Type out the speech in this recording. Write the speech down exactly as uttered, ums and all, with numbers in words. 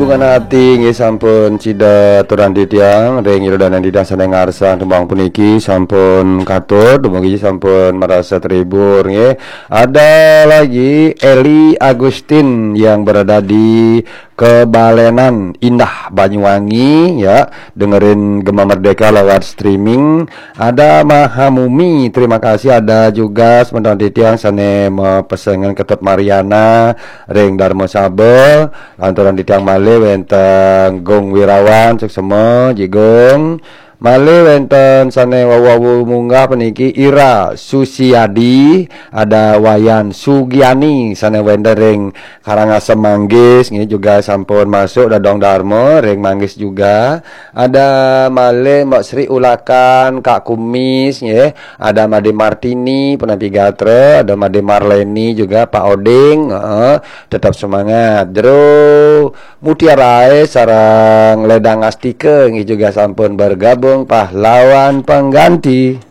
Bunga ati nggih sampun sida aturang titiang ring ira dané titiang sané ngarsang tembang puniki sampun katut, dumugi sampun marasa terhibur nggih. Ada lagi Eli Agustin yang berada di Kebalenan Indah Banyuwangi ya, dengerin Gema Merdeka lewat streaming. Ada Mahamumi, terima kasih. Ada juga semeton titiang sané mapesengan Ketut Mariana ring Darmasaba. Lanturang titiang malih wénten Gung Wirawan, suksema, Ji Gung. Malih wénten sané wau-wau munggah puniki Ira Susiadi, ada Wayan Sugiani sané wénten ring Karangasem Manggis, nggih juga sampun masuk Dadong Darma ring Manggis juga. Ada malih Mbak Sri Ulakan, Kak Kumis, nggih. Ada Made Martini, Penampi Gatra, ada Made Marleni juga, Pak Oding, heeh, tetap semangat. Jero Mutiarae sareng Ledang Astika nggih juga sampun bergabung pahlawan pengganti.